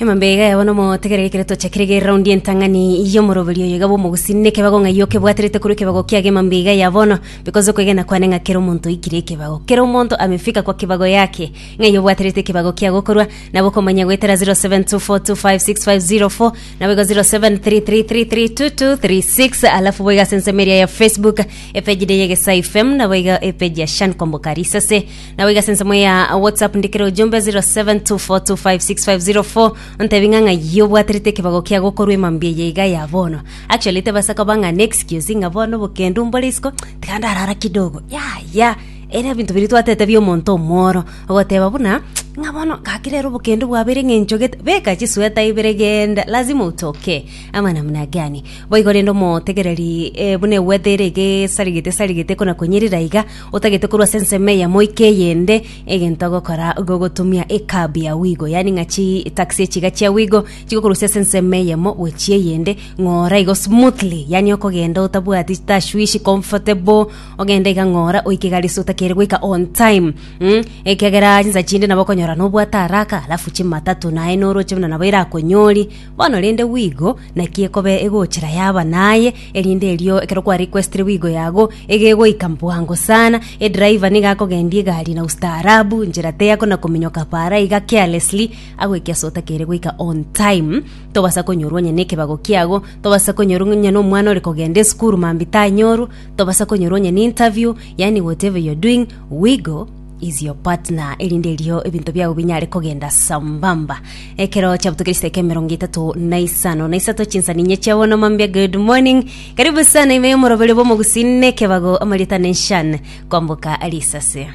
Emambia iga yabo nomotegereri ekero twachakire iga eraundi entang'ani y'omoroberi oyo iga bw'omogusii nekebago ng'ai okebwaterete korwa ekebago kiago emambia iga ya bono because okwegena kwane ng'a kera omonto oikire ekebago kera omonto amefika kwa kibago yake ng'ai obwaterete ekebago kiago korwa nabo okomanya goetera 0724256504 nabo igo 0733332236 alafu boigo ase ensemo eria ya Facebook epage ere ya Egesae FM nabo igo epage ya Shan Kwamboka Risase Nabo iga ase ensemo ya WhatsApp ndikere ujumbe 0724256504 ontebi ng'a ng'ai obwaterete ekebago kia gokorwa emambia eye iga ya bono. Actually tebasa koba ng'a ne excuse ng'a bono obokendu mbore isiko tiga ndarara kidogo yaya ere ebinto biria twatete bia omonto omworo ogoteba buna ng'a bono gaki rero obokendu bwabeire eng'encho gete beka chisweta ibere genda lazima utoke ama namna gani. Boigo rende omotegereri eh, buna eweather ere iga esarigete esarigete kona konyerera iga Otagete korwa ase ensemo eyemo oike eyende, egento ogokora gogotumia ecab ya Wigo, yaani ng'a chitaxi echi iga chia Wigo chigokorusia ase ensemo eyemo gochia eyende ng'ora igo smoothly, yaani okogenda otabwati tashwishi comfortable, ogende iga ng'ora oike iga aria otakeire goika on time mh, ekiagera chinsa chinde nabo okonyora nobwate haraka alafu chimatatu naye noroche buna nabo erakonyori. Bono rende Wigo naki ekoba egochera yaba naye, erinde erio ekero kwa requestire Wigo yago, egegoika bwango sana, edriver nigo akogendia egari na ustaarabu, nchera teyako na kominyoka para iga carelessly, agoike ase otakeire goika on time, tobasa konyorwa onye na ekebago kiago, tobasa konyorwa onye na omwana ore kogenda esukuru mambia tanyorwa, tobasa konyorwa onye na interview, yaani whatever you're doing, Wigo is your partner erinde erio ebinto biago binyare kogenda sambamba. Ekero chiabutokeire chidaeka 53 na isato chinsa ninye chia bono mambia good morning. Karibu sana ime y'omoroberio bw'omogusii nekebago amarieta nenshan kwamboka risase.